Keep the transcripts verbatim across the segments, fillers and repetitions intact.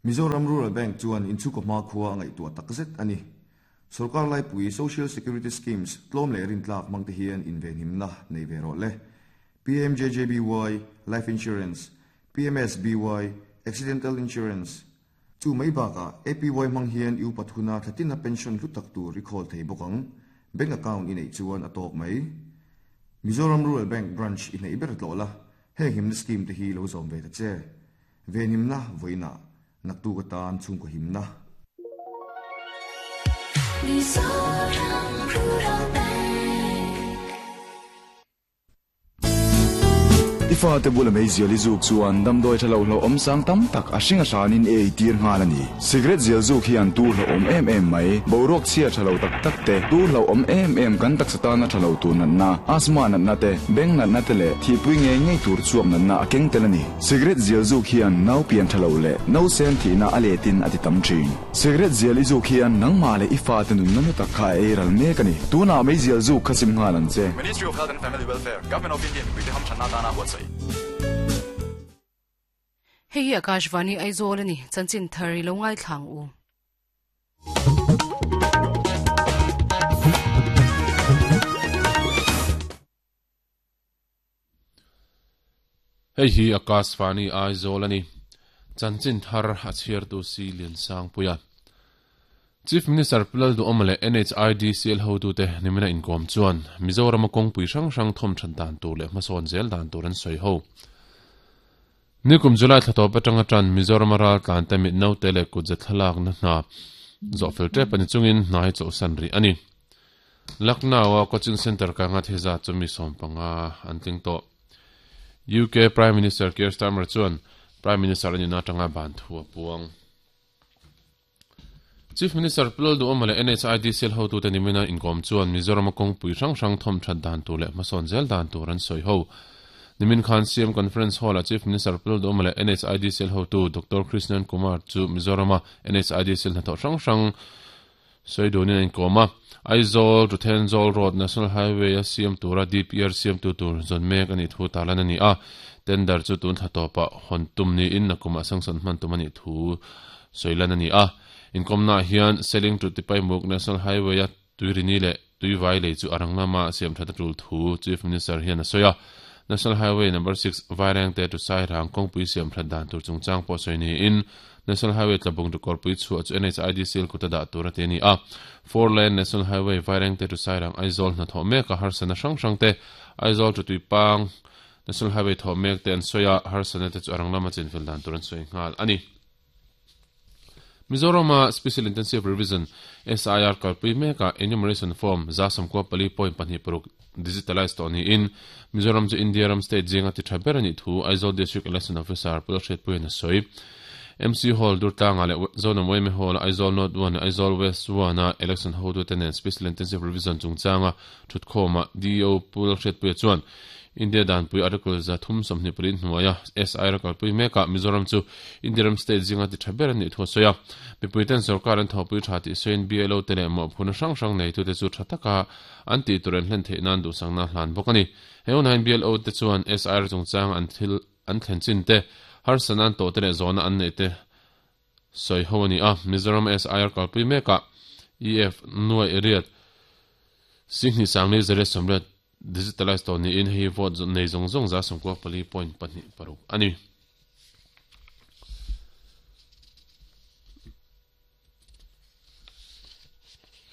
Mizoram Rural Bank chuan inchhungkaw hmakhua a ngaihtuah takzet a ni. Sorkar laipui Social Security Schemes tlawm leh rintlak hmang te hian invenhimna nei ve rawh le. P M J J B Y Life Insurance, P M S B Y Accidental Insurance. Chu mai bakah A P Y hmang hian i upat huna thlatina pension hlu tak tur i khawl thei bawk ang. Bank account i neih chuan a tawk mai. Mizoram Rural Bank branch i hnaih ber tlawh la, heng himna scheme te hi lo zawm ve ta che. Venhimna vawiinah naktuk atan chhungkaw himna. Mizoram Rural Bank. I fate bula meizial i zuk chuan damdawi thalo hlo awm sang tam tak a hring a hranin e ei tir nghal a ni. Cigarette zial zuk hian tur hlo awm em em mai, boruak chhia thalo tak tak te, tur hlo awm em em kan taksa tana thalo tur natna, asthma natna te, beng natna te leh thihpui ngei ngei tur chuap natna a keng tel a ni. Cigarette zial zuk hian nau pian thalo leh no sen thihna a letin a ti tam thin. Cigarette zial i zuk hian nangmah leh i fate nunna nu tak kha a ei ral mek a ni. Tunah meizial zuk kha sim nghal ang che. Ministry of Health and Family Welfare, Government of India, mipui te hamthanna tana buatsaih. Hei hi Akashvani Aizawl ani, chanchin thar i lo ngai thlang u. Hei hi Akashvani Aizawl ani, chanchin thar a chhiar tu si Lian Sang Puia. Chief Minister Pu Lalduhoma leh N H I D C L hotute nimina inkawm chuan Mizoram a kawngpui hrang hrang thawm that dan tur leh hmasawn zel dan tur an sawi ho. Nikum July thla tawp atanga tan Mizoram a ral tlan te mit naute leh kut ze thlalak na hna zawh fel tep ani chungin hna hi chawlhsan rih a ni. Lucknow a coaching center ka nga theza chu mi sawm panga an tling tawh. U K Prime Minister Keir Starmer chuan Prime Minister ani na tanga ban thu a puang. Chief Minister Pu Lalduhoma leh N H I D C L hotute nimina inkawm chuan Mizoram a kawngpui hrang hrang thawm that dan tur leh hmasawn zel dan tur an sawi ho. Nimin khan C M Conference Hall a Chief Minister Pu Lalduhoma leh N H I D C L hotu Doctor Krishnan Kumar chu Mizoram a N H I D C L hnathawh hrang hrang sawi dunin an inkawm a. Aizawl to Thenzawl Road National Highway a siam tura D P R siam tu tur zawn mek ani thu tarlan ani a. Tender chu tun thla tawpah hawn tum niin nakumah sanction hman tum ani thu sawilan ani a. Inkawmna hian Seling to Tipaimukh National Highway a tuirini leh tuivai lei chu arang lama siam that a tul thu Chief Minister hian a sawi a. National Highway number six Vairengte to Sairang kawngpui siam that dan tur chungchang pawh sawi niin National Highway Tlabung to Kawrpui chhuah chu N H I D C L kuta dah tur a ti ani a. Four lane National Highway Vairengte to Sairang Aizawl hnathawh mek a harsana hrang hrang te, Aizawl to Tuipang National Highway thawh mek te an sawi a, harsana te chu arang lama chinfel dan tur an sawi nghal ani. Mizoram a Special Intensive Revision S I R kalpui meka enumeration form za sawmkua pali point pahnih paruk digitalize tawh niin Mizoram chu India ram state zinga ti tha ber ani thu Aizawl District Election Officer Pu Lalhriatpuiin a sawi. M C Hall Durtlanga leh Zonam Y M A Hall Aizawl North one Aizawl West one a election hotute nen Special Intensive Revision chungchanga thutkhawma D E O Pu Lalhriatpuia chuan India danpui article za thum sawmhnih pali hnuaia S I R kalpui meka Mizoram chu India ram state zinga ti tha ber ani thu a sawi a. Mipui ten sarkar an thawpui tha tih sawiin B L O te leh mawhphurhna hrang hrang nei tu te chu tha taka an tih tur an hlen theih nan duhsakna hlan bawk ani. He hunah B L O te chuan S I R chungchang an thil an thlen chin te, harsana an tawh te leh zawhna an nei te sawi ho ani a. Mizoram S I R kalpui meka E F nuai riat singhnih sangli zariat sawmriat digitalize tawh niin hei vote nei zawng zawng za sawmkua pali point pahnih paruk ani.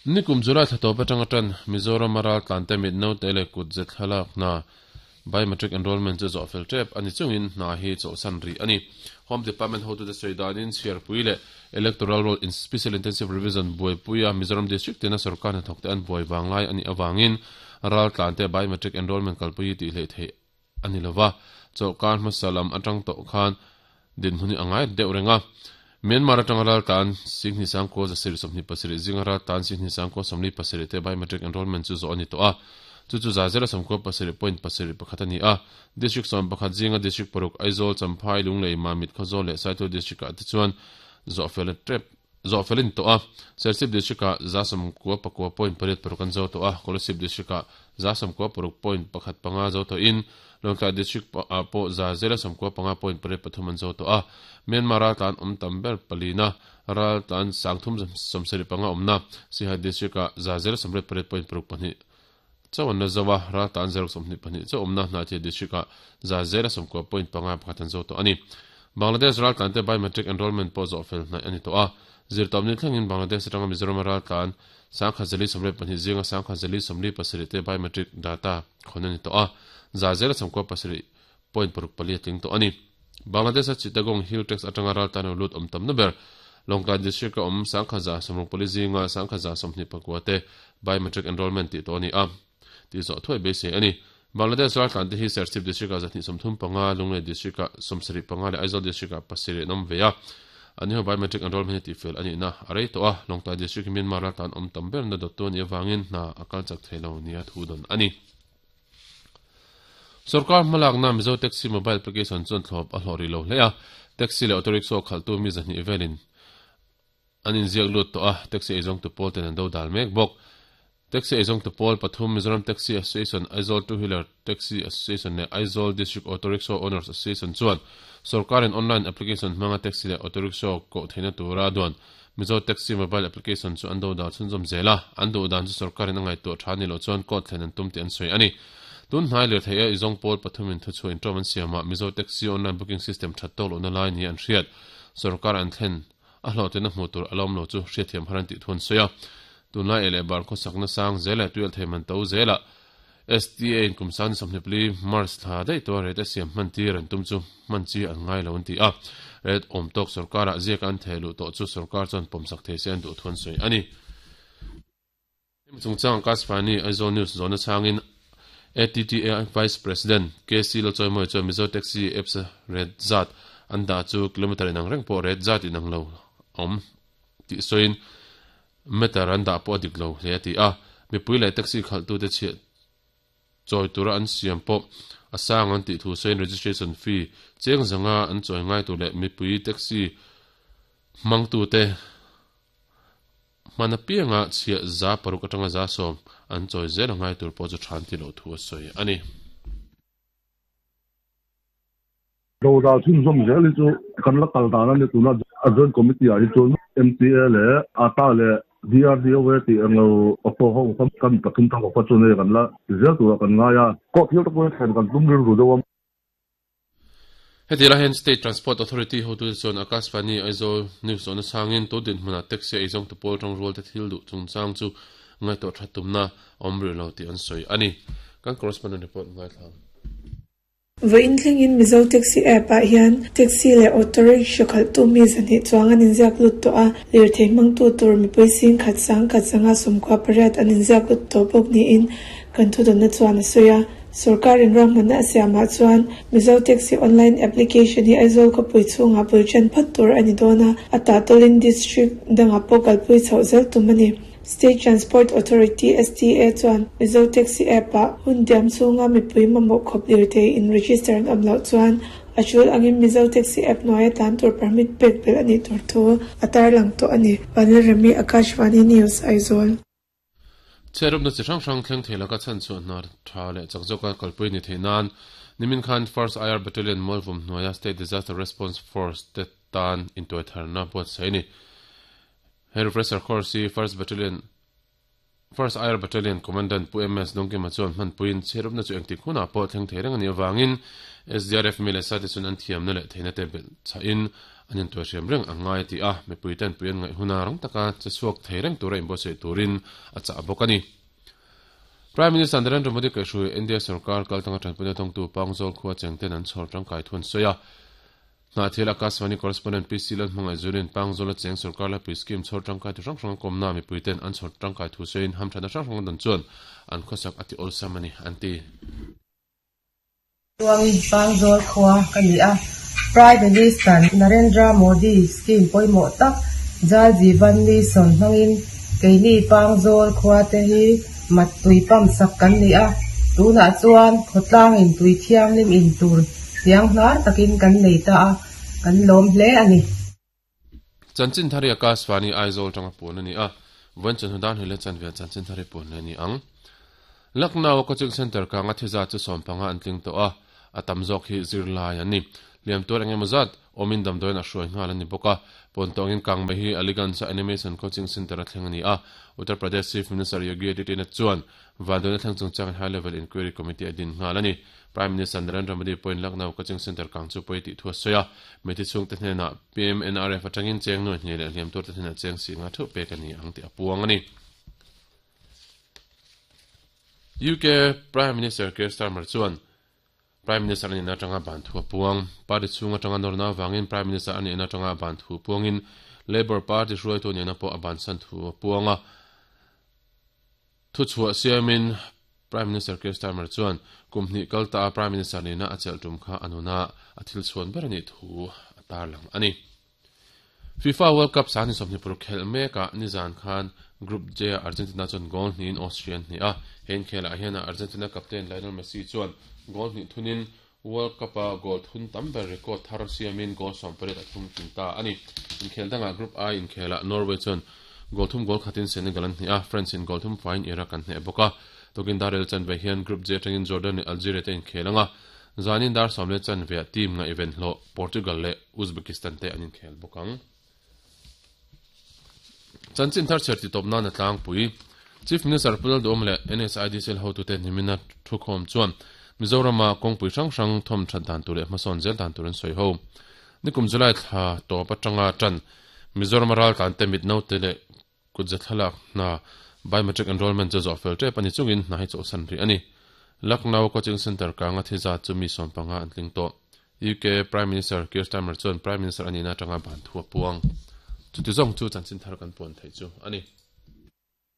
Nikum July thla tawp atanga tan Mizoram a ral tlan te mit naute leh kut ze thlalak hna biometric enrollment chu zawh fel tep ani chungin hna hi chawlhsan rih ani. Home Department hotute sawi danin chhiarpui leh electoral roll in special intensive revision buaipuia Mizoram district tina sarkar hnathawk te an buai wanglai ani awangin ral tlan te biometric enrollment kalpui tih hlei theih ani lova. Chawlhkar hmasa lam atang tawh khan dinhmun hi angai deuh renga. Myanmar atanga ral tlan singhnih sangkaw zasarih sawmhnih pasarih zinga ral tlan singhnih sangkaw sawmli pasarih te biometric enrollment chu zawh ani tawh a, chu chu za zela sawmkua pasarih point pasarih pakhat ani a. District sawm pakhat zinga district paruk Aizawl, Champhai, Lunglei, Mamit, Khawzawl leh Saitual district ah te chuan zawh fel tep zawh felin tawh a. Serchhip district ah za sawmkua pakua point pariat paruk an zo tawh a, Kolasib district ah za samkua paruk point pakhat panga zo to in Lawngtlai district po za zela samkua panga point pariat pathum an zo to a Myanmar ral tlan awm tam ber palina ral tlan sangthum sawmsarih panga awmna Sihai district ah za zela sawmriat pariat point paruk pahnih chawan na zawa ral tlan zero sawmhnih pahnih chaw awmna Hnahthial district ah za zela sawmkua point panga pakhat an zo to ani Bangladesh ral tlan te biometric enrollment pawh zawh fel hnaih ani tawh a zirtawpni thlengin Bangladesh atanga Mizoram ral tlan sangkha zali sawmriat pahnih zinga sangkha zali sawmli pasarih te biometric data khawn ani tawh a za zela sawmkua pasarih point paruk pali a tling tawh ani Bangladesh a Chittagong Hill Tracts atanga ral tlan lut awm tam na ber Lawngtlai district a awm sangkha za sawmruk pali zinga sangkha za sawmhnih pakua te biometric enrollment tih tawh ani a tih zawh thuai beisei ani Bangladesh ral tlan te hi Serchhip district ah zahnih sawmthum panga Lunglei district ah sawmsarih panga leh Aizawl district ah pasarih an awm ve a ani ho biometric enrollment hi tih fel ani na a rei tawh a Lawngtlai district hi Myanmar ral tlan awm tam ber na dawttu ani avangin hna a kal chak thei lo nia thu dawn ani Sarkar hmalakna Mizo Taxi mobile application chuan thlawp a hlawh rih lo hle a taxi leh auto rickshaw khalhtu mi zahnih velin an inziak lut tawh a taxi eizawng tu pawl ten an do dal mek bawk taxi eizawng tu pawl pathum Mizoram Taxi Association Aizawl Two Wheeler Taxi Association leh Aizawl District Auto Rickshaw Owners Association chuan sarkarin online application hmanga taxi leh auto rickshaw koh theihna tura duan Mizo Taxi mobile application chu an do dal chhunzawm zel a an duh dan chu sarkarin a ngaihtuah tha ni loh chuan court thlen an tum tih an sawi ani tun hnai lir theih a izawng pawl pathumin thu chhuah intawm an siamah Mizo Taxi online booking system that tawk lohna lai ni an hriat sarkar an thlen a hlawhten a hmuh tur a lawm lo chu hriatthiam har an tih thu an sawi a tunlai eh leh bar khawsakna sang zel leh tuial thei man to zela S T A in kum san sawmhnih pali March thla daih tawh rate a siam hman tir an tum chu hman chi an ngai lo an ti a rate awm tawk sarkarah ziak an theh luh tawh chu sarkar chuan pawmsak thei se an duh thu an sawi ani hemi chungchang Akashvani Aizawl News zawhna changin A T T A Vice President K C Lalchawimawi chuan Mizo Taxi apps rate zat an dah chu kilometer inang reng pawh rate zat inang lo awm tih sawiin meter an dah pawh a dik lo hle a ti a mipui leh taxi khalhtute chhiah chawi tura an siam pawh a sang an tih thu sawiin registration fee cheng zanga an chawi ngai tur leh mipui taxi hmangtute hman apianga chhiah za paruk atanga za sawm an chawi zel a ngai tur pawh chu than ti loh thu a sawi ani. Do dal chhunzawm zel hi chu kan la kal dan ani tuna a joint committee ah hi chuan M T A leh A T A leh D R D O A tih englo auto ho kan pathum thang kha chu nei kan la zel tura kan ngai a court hial te pawhin thlen kan tum rilru deuh a. Heti la hian State Transport Authority hotu te chuan Akashvani Aizawl News zawhna changin tu dinhmunah taxi a eizawng tu pawl tang rual te thil duh chungchang chu ngaihtuah that tumna awm rih lo tih an sawi ani. Kan correspondent report ngaithla. Vawiin thlengin Mizo Taxi app ah hian taxi leh auto rickshaw khalhtu mi zahnih chuang an inziak lut tawh a lirthei hmangtu tur mipui sing khat sang khat zanga sawmkua pariat an inziak lut tawh bawk niin kan thudawnna chuan a sawi a sarkarin ruahmanna a siamah chuan Mizo Taxi online application hi Aizawl khawpui chhungah bul ṭan phawt tur a ni dawn a a tahtawlin district dangah pawh kalpui chhoh zel tum a ni. State Transport Authority S T A chuan Mizo Taxi app ah hun diam chhunga mipui mamawh khawp lirthei in register an awm loh chuan a tul angin Mizo Taxi app hnuaia tlan tur permit pek belh ani tur thu a tarlang tawh ani. Vanlalrami Akashvani News Aizawl. Chherupna chi hrang hrang thleng thei laka chan chu hna tha leh chak zawka kalpui ni thei nan nimin khan First I R Battalion Mualvum hnuaia State Disaster Response Force te tan intuai tharna buatsaih ani. He refresher course hi First Battalion First I R Battalion Commandant Pu M S Dongkima chuan hmanpuiin chherupna chu engtik hunah pawh thleng thei reng ani awangin S D R F mi leh sate chuan an thiamna leh theihna te belh chahin an intuai hriam reng ang ngai ti a mipui ten pui an ngaih huna rang taka che chhuak thei reng tura inbuatsaih turin a chah bawk ani. Prime Minister Narendra Modi kaihhrui India sarkar kaltanga tanpuina thawngtu Pangzawl khua chengten an chhawr tangkai thun sawi a Hnahthial Akashvani correspondent P C Lalhmangaih Zulin Pangzawl a cheng sarkar laipui scheme chhawr tangkai thu hrang hrang kawmna mipui ten an chhawr tangkai thu sawiin hamthana hrang hrang dan chuan an khawsak a ti awlsam ani an ti. Chuangin Pangzawl khua ka ni a Prime Minister Narendra Modi scheme pawimawh tak Jal Jeevan Mission hmangin keini Pangzawl khua te hi mat tui pam sak kan ni a tunah chuan khawtlangin tui thianghlim in tur hniang hnar takin kan nei ta a kan lawm hle ani. Chanchin thari Akashvani Aizawl tanga pun ani a vawiin chawhnu dan hile chanve chanchin thari pun le ni ang. Lucknow Coaching Center ka nga thiza chu sompanga an tling to a atam zok hi zirlai ani liam tur engemaw zat omin damdawiin a hruai nghal ani bawk a pawntawngin kang mai hi Aliganj Animation Coaching Center a thleng ani a Uttar Pradesh Chief Minister Yogi Adityanath chuan vanduaina thleng chungchang High Level Inquiry Committee a din nghal ani Prime Minister Narendra Modi pawhin Lucknow Coaching Center kang chu pawi tih thu a sawi a meti chhungte hnenah P M N R F atangin cheng nuai hnih leh hliam turte hnenah cheng si nga theuh pek ani ang tih a puang ani U K Prime Minister Keir Starmer chuan Prime Minister ani na tanga ban thu puang party chunga tanga norna wangin Prime Minister ani na tanga ban thu puangin Labour Party hruai tu ni na po aban san thu puanga thu chhuah siamin Prime Minister Keir Starmer chuan kumhni kalta Prime Minister ni na achel tum kha anuna athil chuan ber ani thu atar lang ani FIFA World Cup sani somni pur khel meka nizan khan Group J Argentina chuan goal hnin Austrian ni a hen khela hian Argentina captain Lionel Messi chuan goal hnih thunin World Cup a goal thun tam ber record thar siamin goal sawmpariat a thum tling ta ani inkhel danga Group I inkhela Norway chuan goal thum goal khatin Senegal an hnih a France in goal thum fain Iraq an hneh bawk a tokin darel chan ve hian Group J atangin Jordan leh Algeria te inkhelanga zanin dar sawmle chan ve team nga event hlo Portugal leh Uzbekistan te an inkhel bawk ang Chanchin thar cherti top na na tlang pui Chief Minister Pulal Dom leh N S I D C L hotu te nimina thukhom chuan Mizoram a kawngpui hrang hrang thawm that dan tur leh hmasawn zel dan tur an sawi ho nikum July thla tawp atanga tan Mizoram ral tlan te mit no te leh kutza thlalak na biometric enrollment chu zawh fel tep ani chungin hna hi chawhsan ri ani Lucknow Coaching Center ka nga thiza chu mi sawmpanga an tling tawh U K Prime Minister Keir Starmer chuan Prime Minister ani na tanga ban thu a puang chuti zawng chu chanchin thar kan puan thei chu ani.